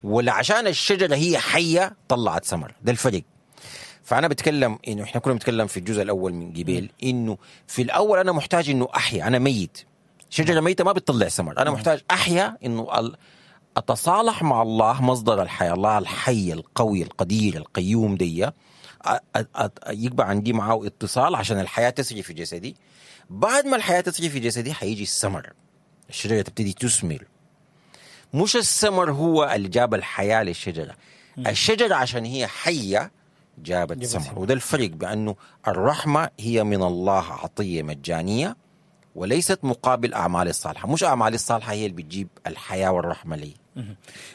ولا عشان الشجرة هي حيه طلعت ثمر. ده الفرق. فانا بتكلم انه احنا كنا بنتكلم في الجزء الاول من جبال، انه في الاول انا محتاج انه احيا، انا ميت، شجرة ميته ما بتطلع ثمر، انا محتاج احيا، انه اتصالح مع الله مصدر الحياة، الله الحي القوي القدير القيوم دي، يبقى عندي معاه اتصال عشان الحياة تسري في جسدي. بعد ما الحياة تسري في جسدي حيجي الثمر، الشجرة تبتدي تثمر. مش الثمر هو اللي جاب الحياة للشجره، الشجرة عشان هي حيه جابت ثمر. وده الفرق، بانه الرحمة هي من الله عطية مجانية وليست مقابل اعمال الصالحة، مش اعمال الصالحة هي اللي بتجيب الحياة والرحمة لي.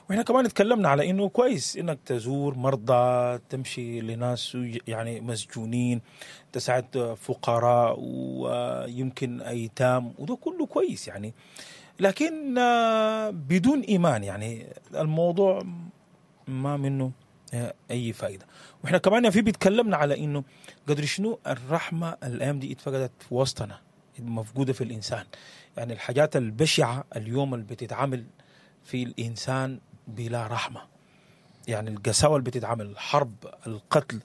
واحنا كمان اتكلمنا على انه كويس انك تزور مرضى، تمشي لناس يعني مسجونين، تساعد فقراء ويمكن ايتام، وده كله كويس يعني، لكن بدون ايمان يعني الموضوع ما منه اي فائدة. واحنا كمان في بيتكلمنا على انه قدر شنو الرحمة الايام دي اتفقدت في وسطنا، مفقودة في الانسان. يعني الحاجات البشعة اليوم اللي بتتعمل في الانسان بلا رحمه، يعني القساوه اللي بتتعمل، الحرب، القتل،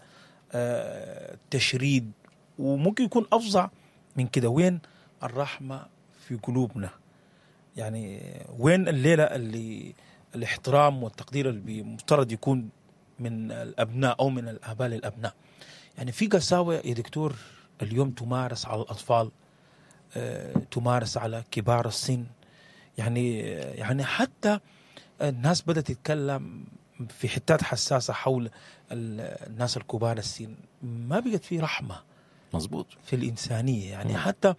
التشريد، وممكن يكون افظع من كده. وين الرحمة في قلوبنا؟ يعني وين الليلة اللي الاحترام والتقدير اللي مفترض يكون من الابناء او من الاباء للابناء؟ يعني في قساوه يا دكتور اليوم تمارس على الاطفال، تمارس على كبار السن، يعني حتى الناس بدأت تتكلم في حتات حساسة حول الناس الكبار السن، ما بقت في رحمة. مظبوط. في الإنسانية يعني. حتى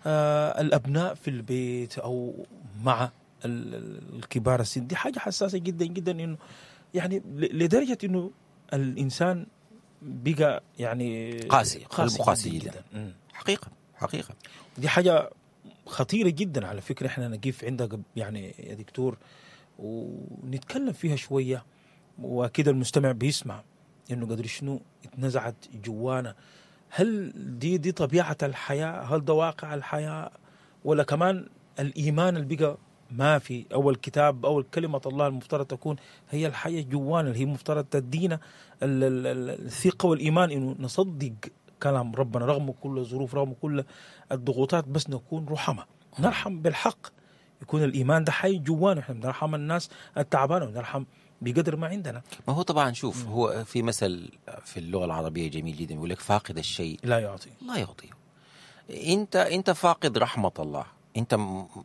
الأبناء في البيت أو مع الكبار السن، دي حاجة حساسة جدا جدا، إنه يعني لدرجة إنه الإنسان بقى يعني قاسي، قاسي, قاسي جدا, جداً. حقيقة حقيقة دي حاجة خطيرة جدا على فكرة. احنا نقف عندها يعني يا دكتور ونتكلم فيها شوية، وأكيد المستمع بيسمع إنه قدر شنو اتنزعت جوانا. هل دي طبيعة الحياة؟ هل ده واقع الحياة؟ ولا كمان الإيمان اللي بقى ما في، أو الكتاب أو كلمة الله المفترض تكون هي الحياة جوانا، اللي هي مفترض تدينا الثقة والإيمان إنه نصدق كلام ربنا رغم كل الظروف، رغم كل الضغوطات، بس نكون رحمة، نرحم بالحق، يكون الإيمان ده حي جوانا. احنا بنرحم الناس التعبانة ونرحم بقدر ما عندنا. ما هو طبعا شوف، هو في مثل في اللغة العربية جميل جدا، يقول لك فاقد الشيء لا يعطي. لا يعطيه. انت فاقد رحمة الله،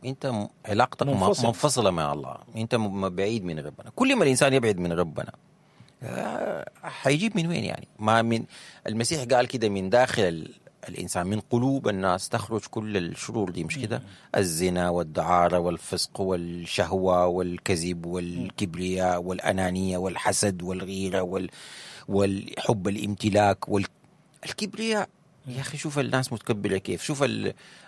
انت علاقتك منفصلة مع الله، انت بعيد من ربنا. كل ما الإنسان يبعد من ربنا حيجيب من وين يعني؟ ما من المسيح قال كده، من داخل الإنسان، من قلوب الناس تخرج كل الشرور دي، مش كده؟ الزنا والدعارة والفسق والشهوة والكذب والكبرياء والأنانية والحسد والغيرة والحب الامتلاك والكبرياء. يا أخي شوف الناس متكبرة كيف، شوف ال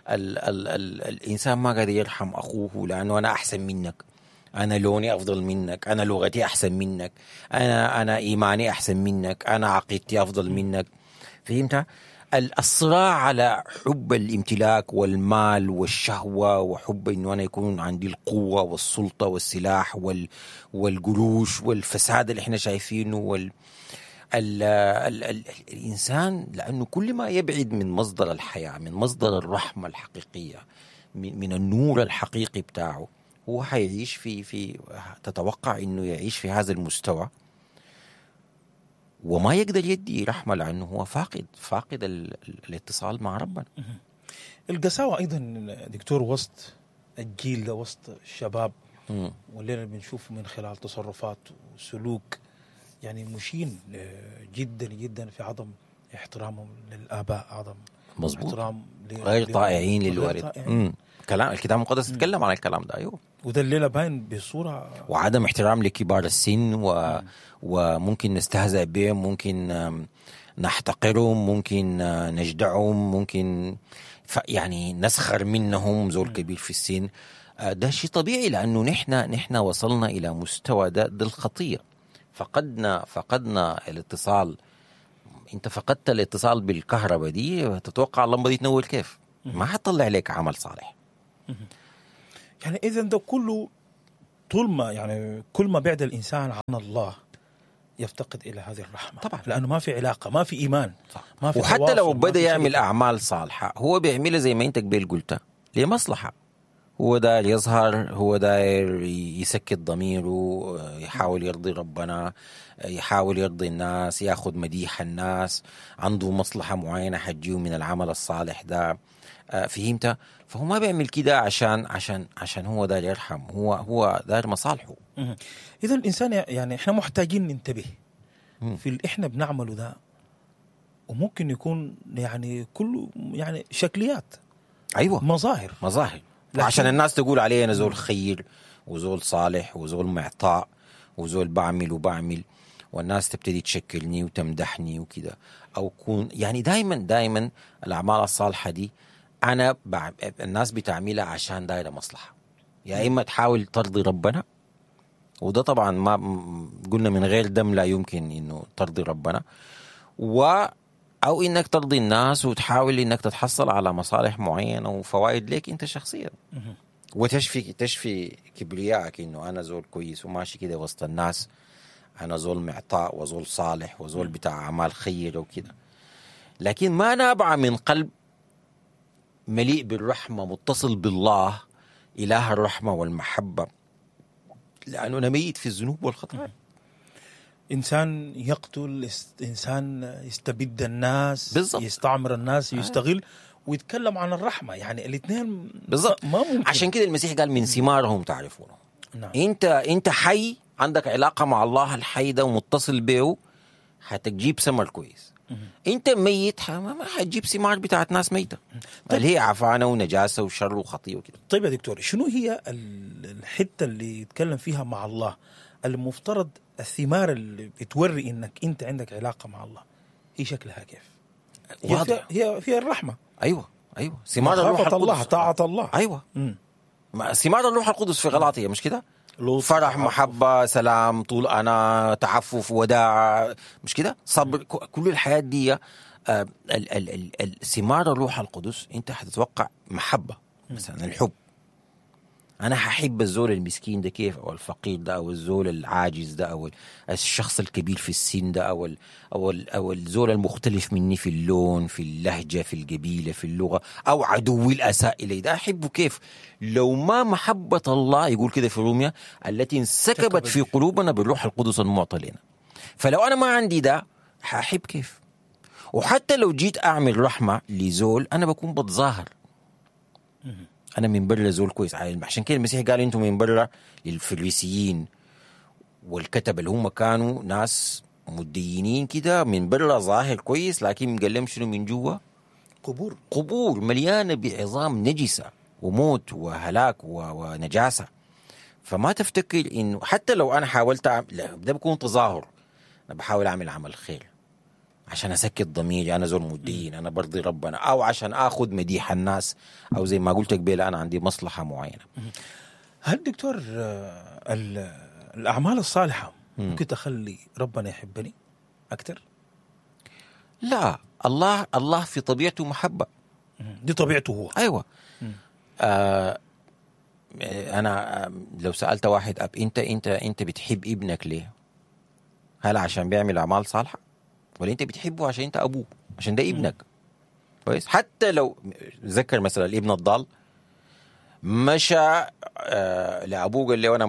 ال ال ال الإنسان ما قادر يرحم أخوه لأنه أنا أحسن منك، أنا لوني أفضل منك، أنا لغتي أحسن منك، أنا إيماني أحسن منك، أنا عقيدتي أفضل منك. فهمت؟ الصراع على حب الامتلاك والمال والشهوة، وحب إنه أنا يكون عندي القوة والسلطة والسلاح والقروش والفساد اللي إحنا شايفينه الإنسان، لأنه كل ما يبعد من مصدر الحياة، من مصدر الرحمة الحقيقية، من النور الحقيقي بتاعه، هو حيعيش في تتوقع إنه يعيش في هذا المستوى وما يقدر يدي رحمة، لأنه هو فاقد الاتصال مع ربنا. القساوة أيضا دكتور وسط الجيل ده، وسط الشباب، واللي بنشوفه من خلال تصرفات وسلوك يعني مشين جدا جدا في عدم احترامهم للآباء، عدم مظبوط، احترام غير طائعين للوالد. كلام الكتاب المقدس يتكلم عن الكلام ده، أيوه، وده الليلة باين بصورة، وعدم احترام لكبار السن وممكن نستهزأ بهم، ممكن نحتقرهم، ممكن نجدعهم، ممكن يعني نسخر منهم، زول كبير في السن. ده شيء طبيعي، لأنه نحن وصلنا إلى مستوى ده الخطية. فقدنا الاتصال. انت فقدت الاتصال بالكهرباء دي، تتوقع اللمبة دي تنور كيف؟ ما حتطلع لك عمل صالح. يعني اذا ده كله طول ما يعني كل ما بعد الانسان عن الله يفتقد الى هذه الرحمة طبعا. لانه ما في علاقة، ما في ايمان، صح. ما في وحتى تواصل، لو ما بدا في يعمل شركة. اعمال صالحه هو بيعملها زي ما انت قبل قلت لمصلحة، هو داير يظهر، هو داير يسكت ضميره، يحاول يرضي ربنا، يحاول يرضي الناس، ياخذ مديح الناس، عنده مصلحة معينة حتجيه من العمل الصالح ده. فهمت؟ فهو ما بيعمل كده عشان عشان عشان هو داير يرحم، هو داير مصالحه. اذا الانسان يعني احنا محتاجين ننتبه في اللي احنا بنعمله ده، وممكن يكون يعني كله يعني شكليات. ايوه، مظاهر. عشان الناس تقول علي انا زول خير وزول صالح وزول معطاء وزول بعمل وبعمل، والناس تبتدي تشكلني وتمدحني وكده، او كون يعني دايما الاعمال الصالحة دي انا الناس بتعملها عشان دايرة مصلحة، يا اما تحاول ترضي ربنا، وده طبعا ما قلنا من غير دم لا يمكن انه ترضي ربنا، او انك ترضي الناس وتحاول انك تتحصل على مصالح معينة وفوائد لك انت شخصيا، وتشفي تشفي كبريائك انه انا زول كويس وماشي كده وسط الناس، انا زول معطاء وزول صالح وزول بتاع اعمال خيره وكده، لكن ما نابعة من قلب مليء بالرحمة متصل بالله اله الرحمة والمحبة، لانه انا ميت في الذنوب والخطايا. انسان يقتل، انسان يستبد الناس، بالزبط. يستعمر الناس، يستغل، ويتكلم عن الرحمة، يعني الاثنين بالضبط ما ممكن. عشان كده المسيح قال من ثمارهم تعرفونه. نعم. انت حي، عندك علاقة مع الله الحي ده ومتصل به، حتجيب ثمر كويس. انت ميت، ما حتجيب ثمار بتاعت ناس ميته، اللي هي عفانه ونجاسه وشر وخطيه وكده. طيب يا دكتور، شنو هي الحتة اللي يتكلم فيها مع الله المفترض الثمار اللي بتوري انك انت عندك علاقة مع الله، هي شكلها كيف؟ واضح. هي فيها الرحمة. ايوه ثمار الروح القدس، الله، طاعة الله. ايوه. ثمار الروح القدس في غلاطية، مش كده؟ فرح، محبة، سلام، طول انا، تعفف، وداع، مش كده؟ صبر، كل الحياة دي ثمار الروح القدس. انت حتتوقع محبة مثلا، الحب، أنا هحب الزول المسكين ده كيف، أو الفقير ده، أو الزول العاجز ده، أو الشخص الكبير في السن ده، أو الزول المختلف مني في اللون، في اللهجة، في القبيلة، في اللغة، أو عدوي الأساء إلي ده، أحبه كيف؟ لو ما محبة الله، يقول كده في روميا، التي انسكبت في قلوبنا بالروح القدس المعطى لنا. فلو أنا ما عندي ده هحب كيف؟ وحتى لو جيت أعمل رحمة لزول، أنا بكون بتظاهر أنا من برا زول كويس. عشان كده المسيح قال أنتم من برا للفريسيين والكتب اللي هم كانوا ناس مدينين كده، من برا ظاهر كويس، لكن قال لهم شنو من جوا؟ قبور مليانة بعظام نجسة وموت وهلاك ونجاسة. فما تفتكر إنه حتى لو أنا حاولت لا، ده بيكون تظاهر، أنا بحاول أعمل عمل خير عشان أسكت ضميري، أنا زول مدين، أنا برضي ربنا، أو عشان أخذ مديح الناس، أو زي ما قلت قبل أنا عندي مصلحة معينة. هل دكتور الأعمال الصالحة ممكن تخلي ربنا يحبني أكثر؟ لا، الله في طبيعته محبة، دي طبيعته هو. أيوة. أنا لو سألت واحد أب، أنت أنت أنت بتحب ابنك ليه؟ هل عشان بيعمل أعمال صالحة؟ ولا انت بتحبه عشان انت ابوه، عشان ده ابنك؟ كويس. حتى لو ذكر مثلا الابن الضال مشى لابوه قال له انا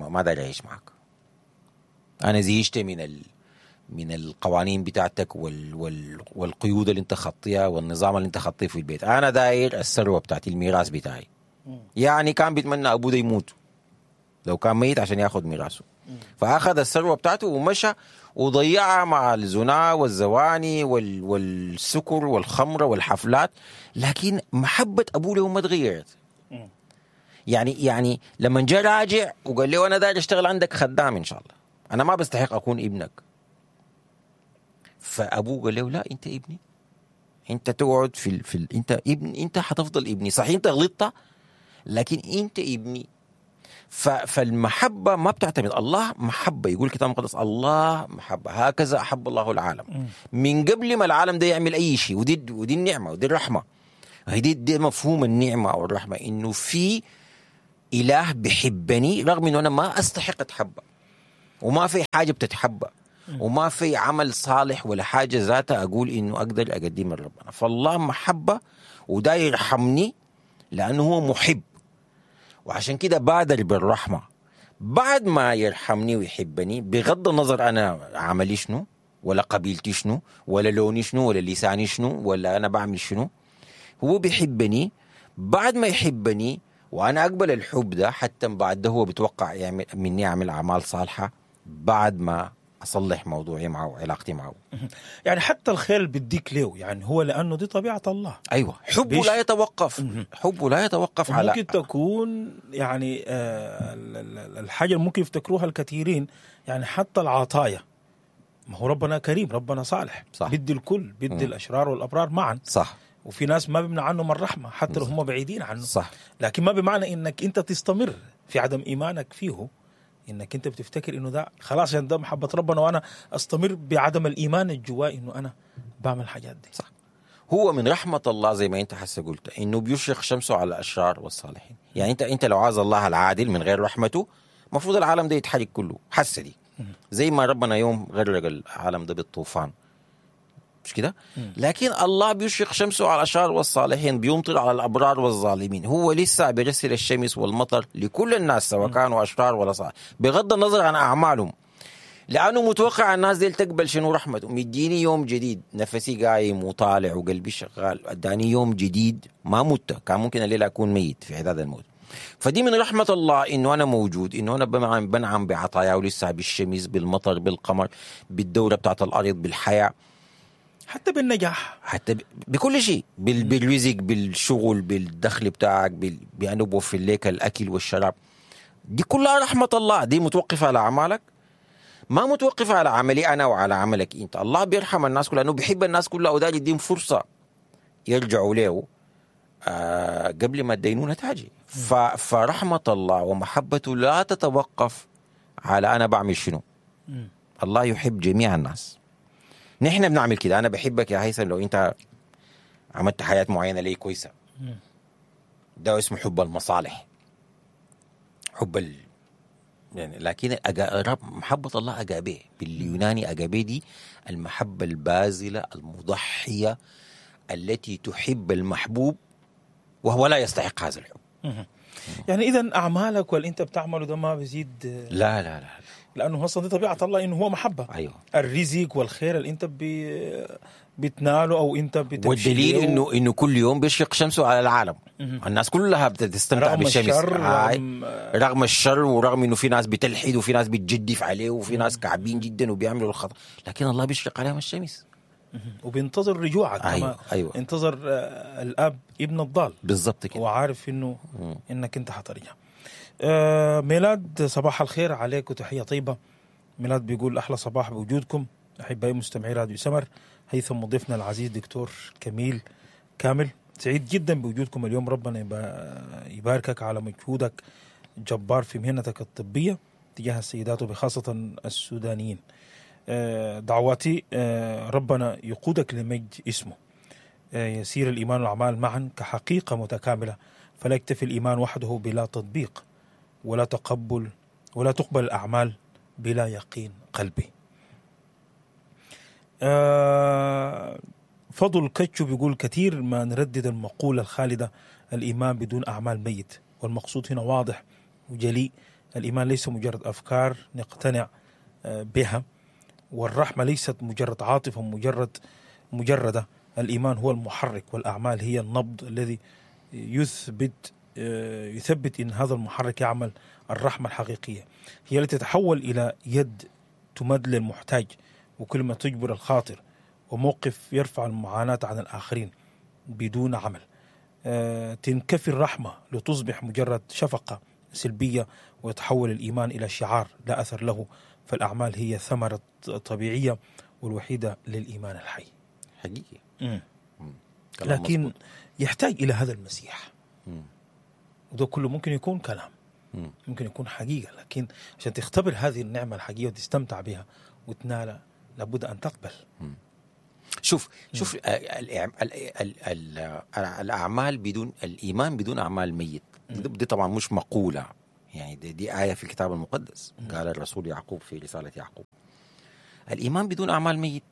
ما داري اعيش معك، انا زهقت من القوانين بتاعتك والقيود اللي انت خطيها والنظام اللي انت خطيه في البيت، انا داير الثروة بتاعتي، الميراث بتاعي. يعني كان بيتمنى ابوه ده يموت لو كان ميت عشان ياخذ ميراثه. فاخذ الثروة بتاعته ومشى وضيعها مع الزنا والزواني والسكر والخمره والحفلات، لكن محبة ابوه له ما تغيرت. يعني لما جاء راجع وقال له انا داير اشتغل عندك خدام ان شاء الله، انا ما بستحق اكون ابنك. فابوه قال له لا، انت ابني، انت تقعد في انت ابن، انت حتفضل ابني، صحيح انت غلطت لكن انت ابني. فالمحبة ما بتعتمد، الله محبة، يقول الكتاب المقدس الله محبة، هكذا أحب الله العالم من قبل ما العالم ده يعمل أي شيء. ودي النعمة ودي الرحمة، دي مفهوم النعمة أو الرحمة، إنه في اله بحبني رغم انه انا ما استحق اتحبى، وما في حاجة بتتحبى، وما في عمل صالح ولا حاجة ذاتها اقول انه اقدر اقدمها لربنا. فالله محبة وده يرحمني لانه هو محب، وعشان كده بادر بالرحمة. بعد ما يرحمني ويحبني، بغض النظر انا عملي شنو ولا قبيلتي شنو ولا لوني شنو ولا لساني شنو ولا انا بعمل شنو، هو بيحبني. بعد ما يحبني وانا اقبل الحب ده، حتى بعد ده هو بيتوقع يعمل مني اعمل اعمال صالحه بعد ما اصلح موضوعي معه وعلاقتي معه. يعني حتى الخير اللي بيديك له، يعني هو لانه دي طبيعة الله. ايوه، حبه لا يتوقف، حبه لا يتوقف على ممكن تكون يعني الحاجة اللي ممكن يفتكروها الكثيرين، يعني حتى العطايا، ما هو ربنا كريم، ربنا صالح، صح. بيدي الكل، بيدي الاشرار والابرار معا، صح. وفي ناس ما بيمنع عنهم الرحمة حتى لو هم بعيدين عنه، صح. لكن ما بمعنى انك انت تستمر في عدم ايمانك فيه، انك انت بتفتكر انه ده خلاص عشان ده محبة ربنا وانا استمر بعدم الايمان الجواي انه انا بعمل الحاجات دي. صح. هو من رحمه الله زي ما انت حسه قلت انه بيشرق شمسه على الاشرار والصالحين. يعني انت لو عايز الله العادل من غير رحمته، المفروض العالم ده يتحرق كله حسه دي، زي ما ربنا يوم غرق العالم ده بالطوفان، مش كده؟ لكن الله بيشرق شمسه على الأشرار والصالحين، بيمطر على الأبرار والظالمين. هو لسه بيرسل الشمس والمطر لكل الناس سواء كانوا أشرار ولا صالح، بغض النظر عن أعمالهم، لأنه متوقع الناس دي تقبل شنو؟ رحمته. مديني يوم جديد، نفسي قايم وطالع وقلبي شغال، اداني يوم جديد، ما مت، كان ممكن الليلة أكون ميت في عداد الموت. فدي من رحمة الله إنه أنا موجود، إنه أنا بنعم بعطاياه لسه، بالشمس، بالمطر، بالقمر، بالدورة بتاعت الأرض، بالحياة، حتى بالنجاح، حتى بكل شيء، بالرزق، بالشغل، بالدخل بتاعك، بأنه بوفر لك الأكل والشراب. دي كلها رحمة الله. دي متوقفة على أعمالك؟ ما متوقفة على عملي أنا وعلى عملك أنت. الله بيرحم الناس كلها لأنه بيحب الناس كلها، وده يديهم فرصة يرجعوا له قبل ما الدينونة تاجي. فرحمة الله ومحبته لا تتوقف على أنا بعمل شنو. الله يحب جميع الناس. نحن بنعمل كده، أنا بحبك يا هيثم لو أنت عملت حياة معينة لي كويسة. ده اسمه حب المصالح، حب يعني. لكن محبة الله أجابيه، باليوناني أجابيه دي المحبة البازلة المضحية التي تحب المحبوب وهو لا يستحق هذا الحب. يعني إذن أعمالك واللي أنت بتعمله ده ما بيزيد؟ لا لا لا، لأنه أصلا دي طبيعة الله إنه هو محبة. أيوة. الرزق والخير اللي أنت بتناله أو أنت بتمشي، والدليل إنه كل يوم بيشرق شمسه على العالم. الناس كلها بتستمتع رغم بالشمس، الشر، رغم الشر، ورغم إنه في ناس بتلحد وفي ناس بتجدف عليه وفي ناس كعبين جدا وبيعملوا الخطأ، لكن الله بيشرق عليهم الشمس وبينتظر رجوعك. أيوة. أيوة. انتظر الأب ابن الضال بالضبط كده، وعارف إنه إنك أنت حترجع. ميلاد صباح الخير عليك وتحية طيبة. ميلاد بيقول أحلى صباح بوجودكم أحبائي مستمعي راديو سمر، هيثم مضيفنا العزيز دكتور كميل كامل، سعيد جدا بوجودكم اليوم، ربنا يباركك على مجهودك الجبار في مهنتك الطبية تجاه السيدات وبخاصة السودانيين. دعواتي ربنا يقودك لمجد اسمه، يسير الإيمان والأعمال معا كحقيقة متكاملة، فلا يكتفي الإيمان وحده بلا تطبيق ولا تقبل ولا تقبل الأعمال بلا يقين قلبي. فضل كتشو بيقول كثير ما نردد المقولة الخالدة الإيمان بدون أعمال ميت، والمقصود هنا واضح وجلي، الإيمان ليس مجرد أفكار نقتنع بها، والرحمة ليست مجرد عاطفة مجردة، الإيمان هو المحرك والأعمال هي النبض الذي يثبت إن هذا المحرك يعمل. الرحمة الحقيقية هي التي تتحول إلى يد تمد للمحتاج وكلمة تجبر الخاطر وموقف يرفع المعاناة عن الآخرين بدون عمل. تنكفي الرحمة لتصبح مجرد شفقة سلبية ويتحول الإيمان إلى شعار لا أثر له، فالأعمال هي ثمرة طبيعية والوحيدة للإيمان الحي. حقيقي. لكن مزبوط. يحتاج إلى هذا المسيح. وده كله ممكن يكون كلام، ممكن يكون حقيقة، لكن عشان تختبر هذه النعمة الحقيقية وتستمتع بها وتنالها لابد أن تقبل. شوف شوف الاعمال بدون الايمان بدون اعمال ميت. دي طبعا مش مقولة، يعني دي ايه في الكتاب المقدس، قال الرسول يعقوب في رسالة يعقوب. الايمان بدون اعمال ميت.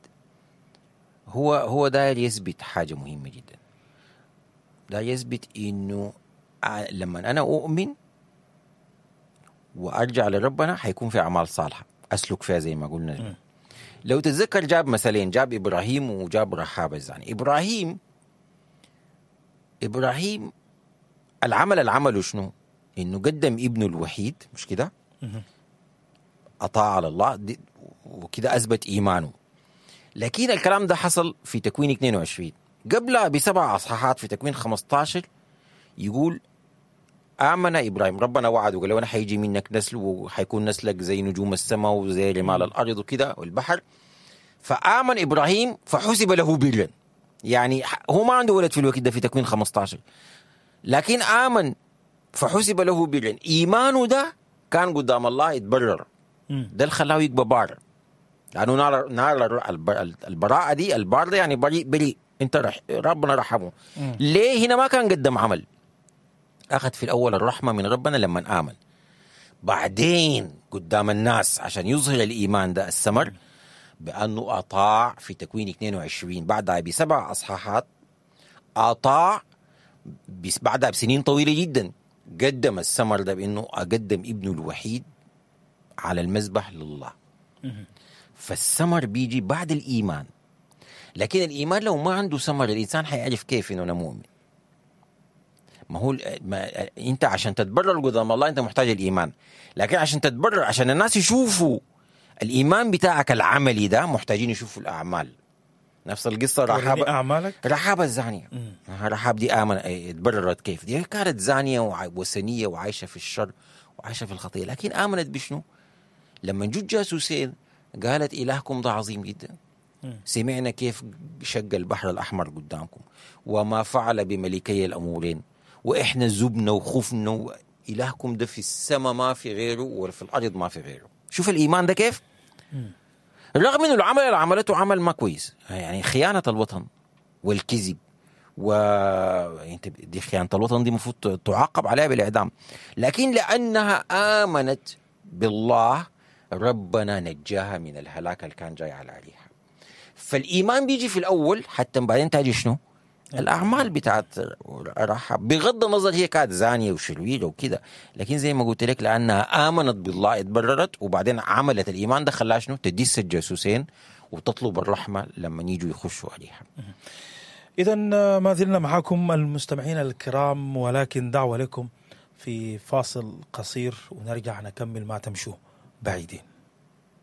هو داير يثبت حاجة مهمة جدا. داير يثبت انه لما انا اؤمن وارجع لربنا حيكون في اعمال صالحه اسلك فيها زي ما قلنا. لو تتذكر جاب مثلين، جاب ابراهيم وجاب رحاب الزاني. ابراهيم العمل اللي عمله شنو؟ انه قدم ابنه الوحيد، مش كده؟ اطاع على الله وكده اثبت ايمانه. لكن الكلام ده حصل في تكوين 22، قبلها ب7 اصحاحات في تكوين 15 يقول آمن إبراهيم، ربنا وعده وقال له أنا حيجي منك نسل وحيكون نسلك زي نجوم السماء وزي رمال الأرض وكده والبحر. فآمن إبراهيم فحسب له برا. يعني هو ما عنده ولد في الوقت ده في تكوين 15، لكن آمن فحسب له برا. إيمانه ده كان قدام الله يتبرر، ده اللي خلاه يبقى بار، لأنه نال البراءة دي. البار ده يعني بريء، بريء انت ربنا رحمه. ليه هنا ما كان قدم عمل؟ أخذ في الأول الرحمة من ربنا لما آمن، بعدين قدام الناس عشان يظهر الإيمان ده الثمر بأنه أطاع في تكوين 22 بعدها ب7 أصحاحات، أطاع بعدها بسنين طويلة جدا، قدم الثمر ده بأنه أقدم ابنه الوحيد على المذبح لله. فالثمر بيجي بعد الإيمان، لكن الإيمان لو ما عنده ثمر الإنسان حيعرف كيف إنه أنا مؤمن. ما هو انت عشان تتبرر قدام الله انت محتاج الايمان، لكن عشان تتبرر، عشان الناس يشوفوا الايمان بتاعك العملي ده، محتاجين يشوفوا الاعمال. نفس القصة رحاب، رحاب الزانية. رحاب دي امن اتبررت كيف؟ دي كانت زانية وثنية وعايشة في الشر وعايشة في الخطية، لكن امنت بشنو؟ لما جو جاسوسين قالت الهكم ده عظيم جدا، سمعنا كيف شق البحر الاحمر قدامكم وما فعل بملكي الامورين، وإحنا زبنا وخفنا، إلهكم ده في السماء ما في غيره وفي الأرض ما في غيره. شوف الإيمان ده كيف؟ رغم إنه العمل اللي عملته عمل ما كويس، يعني خيانة الوطن والكذب، و دي خيانة الوطن دي المفروض تعاقب عليها بالإعدام، لكن لأنها آمنت بالله ربنا نجاها من الهلاك اللي كان جاي على عليها. فالإيمان بيجي في الأول حتى بعدين تاجي شنو؟ الأعمال بتاعت رحاب، بغض النظر هي كانت زانية وشريرة وكده، لكن زي ما قلت لك لأنها آمنت بالله اتبررت، وبعدين عملت الإيمان ده خلاها شنو؟ تدس الجاسوسين وتطلب الرحمة لما يجوا يخشوا عليها. إذا ما زلنا معكم المستمعين الكرام، ولكن دعوة لكم في فاصل قصير ونرجع نكمل ما تمشوا بعيدين.